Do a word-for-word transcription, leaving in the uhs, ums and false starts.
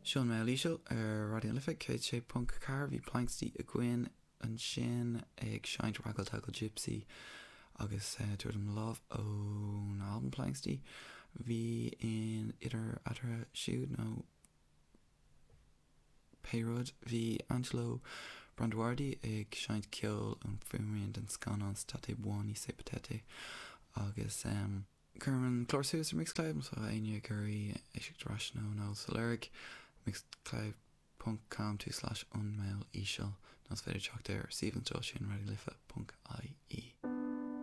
Seo An Meall Íseal ar Raidió na Life céad sé ponc ceathair. Bhí Planxty againn ansin ag seinnt Raggle Taggle Gypsy agus Tabhair Dom Do Lámh ón albam Planxty. Bhí in idir eatarthu siúd nó pé rud, bhí Angelo Branduardi ag seinnt ceoil ón fuaimrian den scannán State Buoni Se Potete agus cuirim an clár suas ar Mixcloud má tá éinne ag iarraidh éisteacht ar ais nó nóta a lorg, mixcloud ponc com tulslais an Meall Íseal nó is féidir teacht ar suíomh an stáisiúin raidionalife ponc ie.